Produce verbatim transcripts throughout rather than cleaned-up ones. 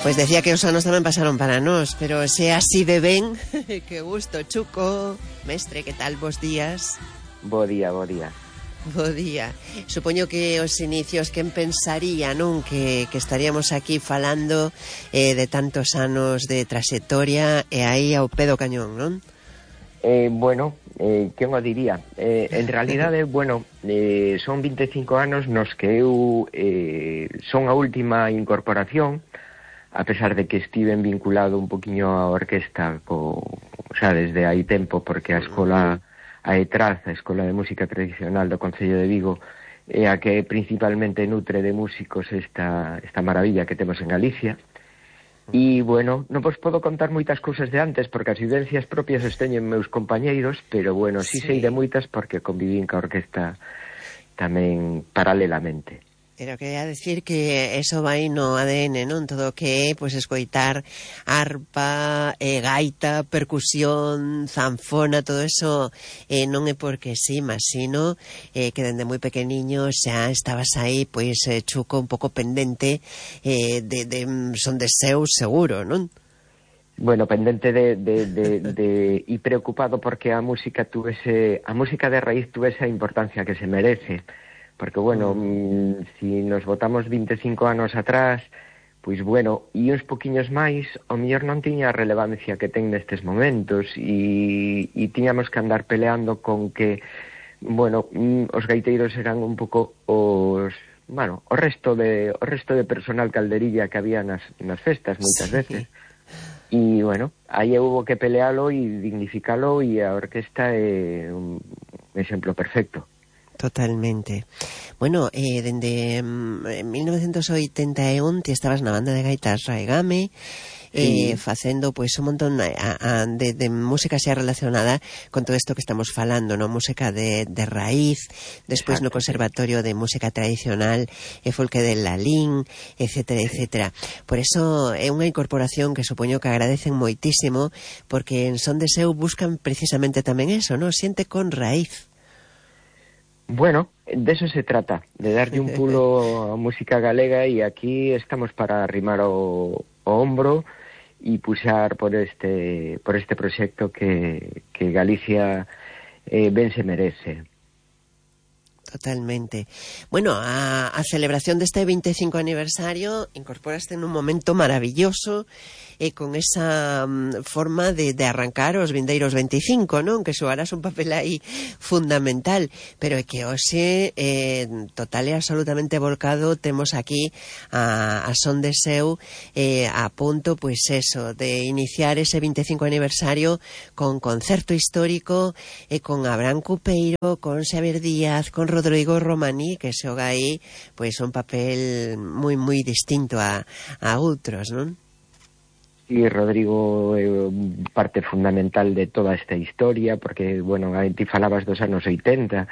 Pois decía que os anos tamén pasaron para nós, pero se así de ben, que gusto, Chuco. Mestre, que tal, bos días? Bo día, bo día. Bo día. Supoño que os inicios, quen pensaría, non? Que, que estaríamos aquí falando eh, de tantos anos de trayectoria e aí ao pé do cañón, non? Eh, bueno, eh, quen o diría? Eh, en realidade, bueno, eh, son vinte e cinco anos nos que eu eh, son a última incorporación, a pesar de que estiven vinculado un poquinho á orquesta co, o sea, desde hai tempo, porque a escola a ETRAZ, a Escola de Música Tradicional do Concello de Vigo, é a que principalmente nutre de músicos esta, esta maravilla que temos en Galicia. E, bueno, non vos podo contar moitas cousas de antes, porque as vivencias propias as teñen meus compañeiros, pero, bueno, sí, sí sei de moitas porque convivín ca orquesta tamén paralelamente. Pero quería decir que eso vai no A D N, non? Todo o que é, pois, escoitar arpa, eh, gaita, percusión, zanfona, todo eso eh, non é porque sí, mas sino eh, que dende moi pequeniño xa estabas aí, pois, eh, Chuco, un pouco pendente eh, de, de son de seu seguro, non? Bueno, pendente de, de, de, de e preocupado porque a música tuvese, a música de raíz tuvese a importancia que se merece. Porque, bueno, mm. si nos botamos vinte e cinco anos atrás, pois, bueno, e uns poquiños máis, o mellor non tiña a relevancia que ten nestes momentos, e, e tiñamos que andar peleando con que, bueno, mm, os gaiteiros eran un pouco os, bueno, o resto de o resto de personal calderilla que había nas, nas festas, moitas sí. veces. E, bueno, aí hubo que pelealo e dignificalo, e a orquesta é un exemplo perfecto. Totalmente. Bueno, eh, dende mm, mil novecientos oitenta e un ti estabas na banda de gaitas Raigame, eh, sí. facendo pois un montón a, a, de, de música xa relacionada con todo isto que estamos falando, no? Música de, de raíz, despois no Conservatorio de Música Tradicional e Folque de Lalín, etcétera, etcétera. Por eso é unha incorporación que supoño que agradecen moitísimo, porque en Son de Seu buscan precisamente tamén eso, no? Xente con raíz. Bueno, de eso se trata, de darlle un pulo a música galega, e aquí estamos para arrimar o, o hombro e puxar por este por este proxecto que, que Galicia eh, ben se merece. Totalmente. Bueno, a, a celebración deste vinte e cinco aniversario incorporaste nun momento maravilloso e eh, con esa um, forma de, de arrancar os vindeiros vinte e cinco, non? Que xogarás un papel aí fundamental, pero é que hoxe eh, total e absolutamente volcado temos aquí a, a Son de Seu eh, a punto, pois eso, de iniciar ese vinte e cinco aniversario con concerto histórico e eh, con Abraham Cupeiro, con Xavier Díaz, con Rodrigo Romaní, que xoga aí pois un papel moi moi distinto a, a outros, non? Sí, Rodrigo é parte fundamental de toda esta historia, porque, bueno, ti falabas dos anos oitenta,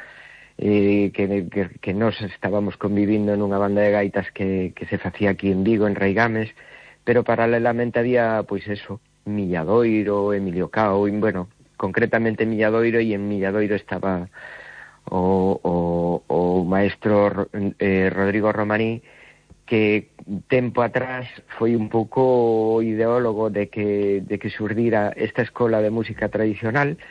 eh, que, que, que nós estábamos convivindo nunha banda de gaitas que, que se facía aquí en Vigo, en Raigames, pero paralelamente había, pois eso, Milladoiro, Emilio Cao, e, bueno, concretamente Milladoiro, e en Milladoiro estaba o, o, o maestro eh, Rodrigo Romaní, que tempo atrás foi un pouco o ideólogo de que, de que xurdira esta escola de música tradicional,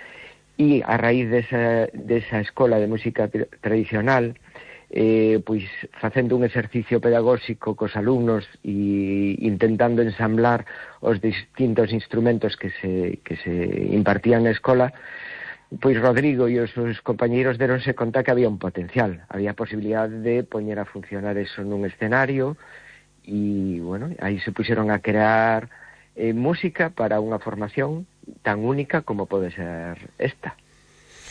e a raíz desa, desa escola de música tradicional, eh, pois facendo un exercicio pedagóxico cos alumnos e intentando ensamblar os distintos instrumentos que se, que se impartían na escola, pois Rodrigo e os seus compañeiros deronse conta que había un potencial, había posibilidade de poñer a funcionar eso nun escenario, e, bueno, aí se puxeron a crear eh, música para unha formación tan única como pode ser esta.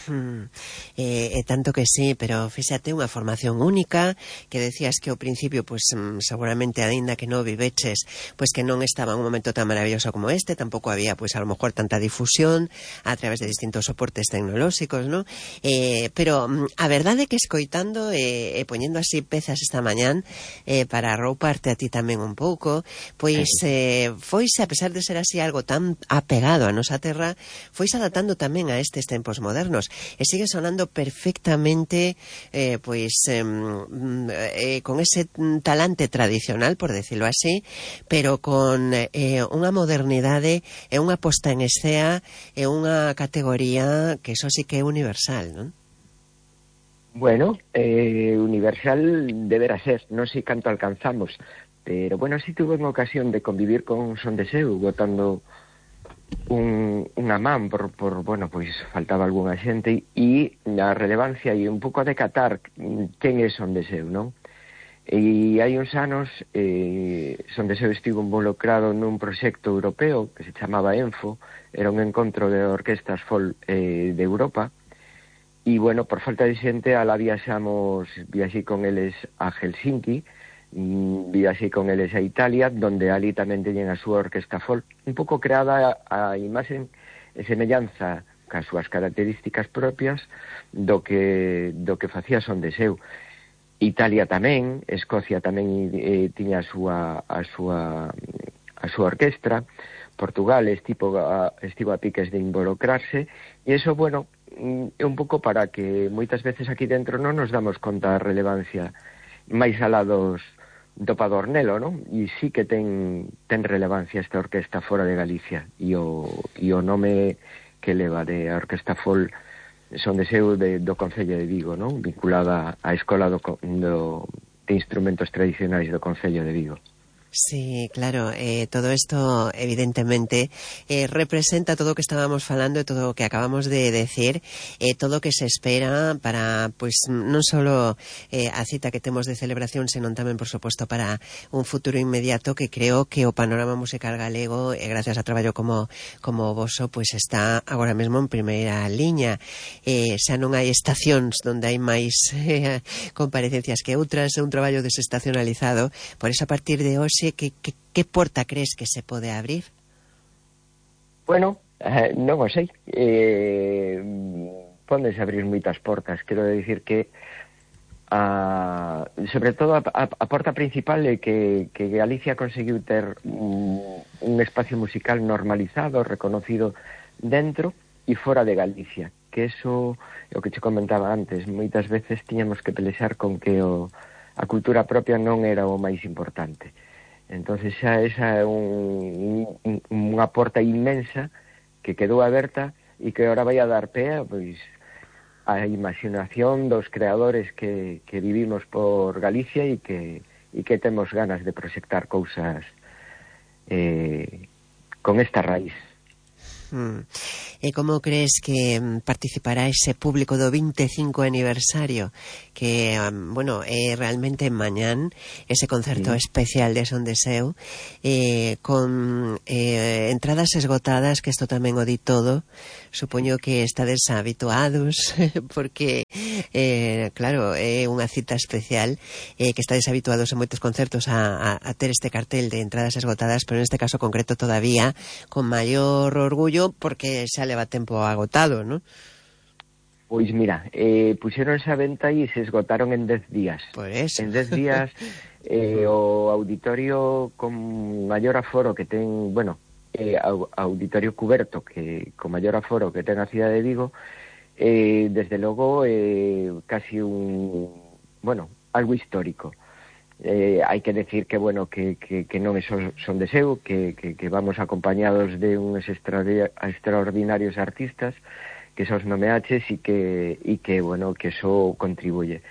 Hmm. Eh, eh, tanto que sí, pero fíxate, unha formación única, que decías que ao principio, pues seguramente aínda que non viveches, pues que non estaba en un momento tan maravilloso como este, tampouco había, pues a lo mejor tanta difusión a través de distintos soportes tecnolóxicos, ¿no? Eh, pero a verdade é que escoitando e eh, eh, poñendo así pezas esta mañán eh, para arrouparte a ti tamén un pouco, pois eh, foise, a pesar de ser así algo tan apegado a nosa terra, foise adaptando tamén a estes tempos modernos. e sigue sonando perfectamente eh, pois eh, eh, con ese talante tradicional, por decirlo así, pero con eh, unha modernidade e unha posta en escena e unha categoría que eso sí que é universal, non? Bueno, eh, universal deberá ser, non sei canto alcanzamos, pero bueno, si tuve unha ocasión de convivir con Son de Seu, botando un, unha man por, por, bueno, pois faltaba algunha xente, e a relevancia e un pouco a decatar quen é Son de Seu, non? E hai uns anos eh, Son de Seu estivo involucrado nun proxecto europeo que se chamaba ENFO, era un encontro de orquestas folk eh, de Europa. E, bueno, por falta de xente, alá viaxamos, viaxei con eles a Helsinki, viaxei con eles a Italia, donde ali tamén teñen a súa orquesta folk, un pouco creada a imaxen e semellanza cas súas características propias do que, do que facía Son de Seu. Italia tamén, Escocia tamén eh, tiña a súa, a súa, a súa orquestra, Portugal estivo a, estivo a piques de involucrarse, e iso, bueno, é un pouco para que moitas veces aquí dentro non nos damos conta da relevancia máis alá dos do Padornelo, non? E sí que ten ten relevancia esta orquesta fora de Galicia, e o, e o nome que leva de a Orquesta Folk Son de Seu de, do Concello de Vigo, non? Vinculada á Escola do, do, de Instrumentos Tradicionais do Concello de Vigo. Sí, claro, eh, todo esto evidentemente eh, representa todo o que estábamos falando e todo o que acabamos de decir, eh, todo o que se espera para, pues, non solo eh, a cita que temos de celebración, senón tamén, por suposto, para un futuro inmediato que creo que o panorama musical galego, eh, gracias a traballo como como voso, pues está agora mesmo en primeira liña. Eh, xa non hai estacións onde hai máis eh, comparecencias que outras, é un traballo desestacionalizado, por eso a partir de hoxe Que, que, que porta crees que se pode abrir? Bueno, eh, non o sei. Eh, pódense abrir moitas portas. Quero dicir que a, sobre todo a, a, a porta principal é que, que Galicia conseguiu ter un, un espacio musical normalizado, reconocido dentro e fora de Galicia. Que eso é o que che comentaba antes. Moitas veces tiñamos que pelexar con que o, a cultura propia non era o máis importante. Entonces xa esa é un, un, unha porta inmensa que quedou aberta e que ahora vai a dar pé pois, a imaginación dos creadores que, que vivimos por Galicia e que, e que temos ganas de proxectar cousas eh, con esta raíz. Mm. E como crees que participará ese público do vinte e cinco aniversario que, um, bueno, é realmente mañán ese concerto sí. especial de Son de Seu eh, con eh, entradas esgotadas, que isto tamén o di todo, supoño que estades habituados porque eh, claro, é unha cita especial eh, que estades habituados en moitos concertos a, a, a ter este cartel de entradas esgotadas, pero en este caso concreto todavía con maior orgullo porque xa leva tempo agotado, non? Pois mira, eh, puxeronse a venta e se esgotaron en dez días. Por eso. En dez días eh, o auditorio con maior aforo que ten, bueno, eh, auditorio cuberto que con maior aforo que ten a cidade de Vigo, eh, desde logo eh, casi un, bueno, algo histórico. Eh, hai que decir que, bueno, que, que, que non é Son de Seu, que, que, que vamos acompañados de uns extraordinarios artistas que sos nomeaches e que, e que, bueno, que eso contribuye.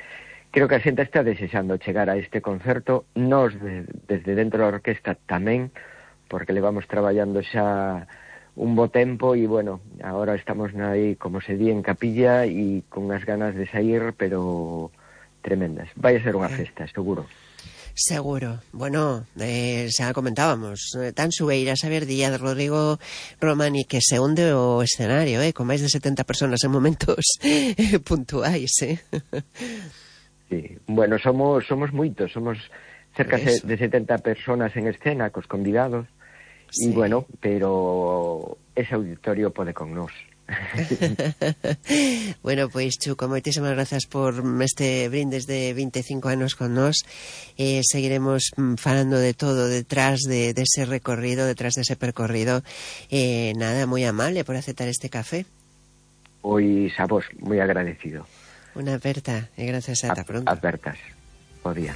Creo que a xente está desexando chegar a este concerto, nos de, desde dentro da orquesta tamén, porque le vamos traballando xa un bo tempo e, bueno, agora estamos aí, como se di, en capilla e con as ganas de sair, pero tremendas. Vai a ser unha festa, seguro. Seguro. Bueno, eh, xa comentábamos, eh, tan Sueiras, Xavier Díaz, Rodrigo Romani, que se hunde o escenario, eh, con máis de setenta personas en momentos eh, puntuais, eh. Sí, bueno, somos somos moitos, somos cerca de setenta personas en escena, cos convidados, e sí. Bueno, pero ese auditorio pode con nós. Bueno, pois Chuco, moitísimas grazas por este brindes de vinte e cinco anos con nós. eh, seguiremos falando de todo detrás de, de ese recorrido, detrás de ese percorrido. eh, nada, moi amable por aceptar este café. Pois a vos, moi agradecido. Unha aperta e gracias ata pronto. Apertas. Bo día.